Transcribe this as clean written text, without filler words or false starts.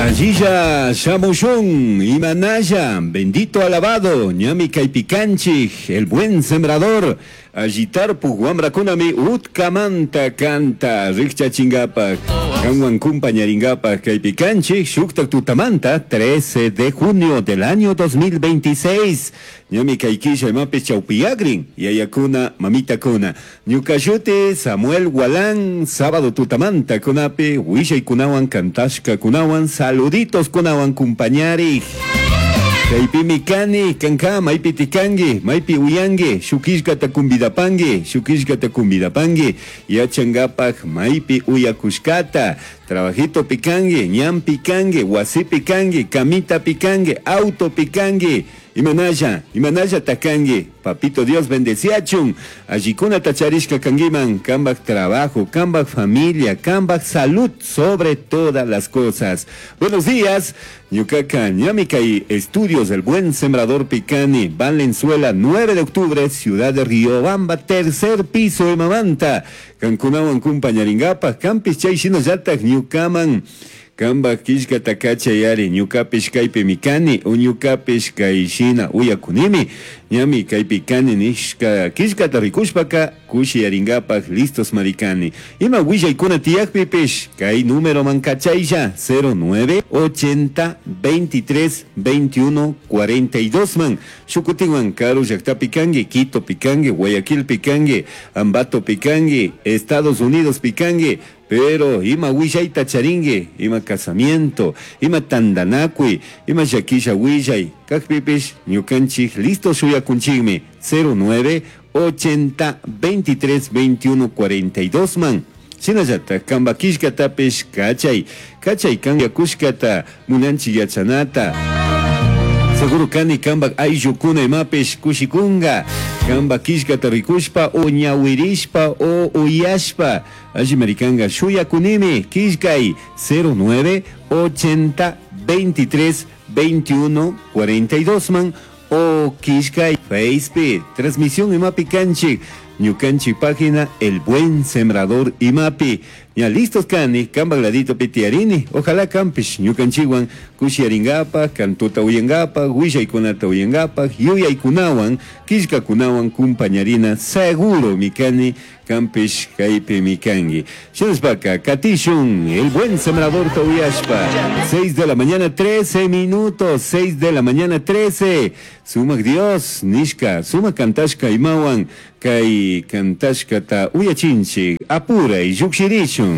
Allilla shamushun, imanalla, bendito alabado, ñami kaypi kanchik, el buen sembrador, alli tarpuk wamrakunami utkamanta kanta rikchachinkapak, kanwan kumpañarinkapak kaypi kanchik, shuktak tutamanta, 13 de junio del año 2026, ñami kay killa imapish chawpiyakrin, yayakuna, mamitakuna. Ñuka shuti Samuel Gualán, sábado tutamanta kunapi, willaykunawan, kantashkakunawan, saluditos kunawan kumpañarik. Kaypimi kani, kanka, maypi tikanki, maypi uyanki, shuk killkata kumbidapanki, shuk killkata kumbidapanki, yachankapak maypi uyakushkata, trabajito pikanki, ñanpi kanki, wasipi kanki, camitapi kanki, autopi kanki, imanalla, imanalla takanki, papito Dios bendeciachun, allikunata charishka kankiman, kambak trabajo, kambak familia, kambak salud, sobre todas las cosas. Buenos días, ñukaka ñami kay estudios del buen sembrador Picani, Valenzuela, 9 de octubre, Ciudad de Riobamba, tercer piso imamanta, kankunawan kumpañarinkapak, kanpish chay shinallatak ñukaman, kambak killkata kachayari, ñukapish kaypimi kani, o ñukapish kay shina uyakunimi, ñami kaypi kani nishka killkata rikushpaka kushiyarinkapak listos marikani. Ima willaykuna tiyakpipish kay numeroman kachaylla 09 80 23 21 42 man. Shukutinwan karu llaktapi kanki, Quito pikanki, Guayaquil pikanki, Ambato pikanki, Estados Unidos pikanki, pero ima willayta charinki, ima casamiento, ima tandanakuy, ima llakisha willay, kakpipish ñukanchik listo shuyakunchikmi 09 80 23 21 42 man. Shinallatak kamba killkatapish kachay, kachay kan yakushkata munanchik yachanata. Seguro kani kambak ayllukuna imapish kushikunga, kamba killkata rikushpa o ñawirishpa o uyashpa, alli marikanga shuyakunimi killkay 09 80 23 21 42 man o killkay Facebook, transmisión imapi kanchik, ñukanchik página El Buen Sembrador imapi. Ya listos kani, kambak ladito pitiarini, ojalá kampish ñukanchikwan kushiyarinkapak, kantuta uyankapak, willaykunata uyankapak, yuyaykunawan, killkakunawan kumpañarina, seguro mikani, kampish kaypi mikanki. Shinashpaka, katishun, El Buen Sembrador ta uyashpa, 6 de la mañana 13 minutos, 6 de la mañana 13, sumak Dios, nishka, sumak kantashka imawan, kay kantashkata uyachinchik, apuray, llukshirishun.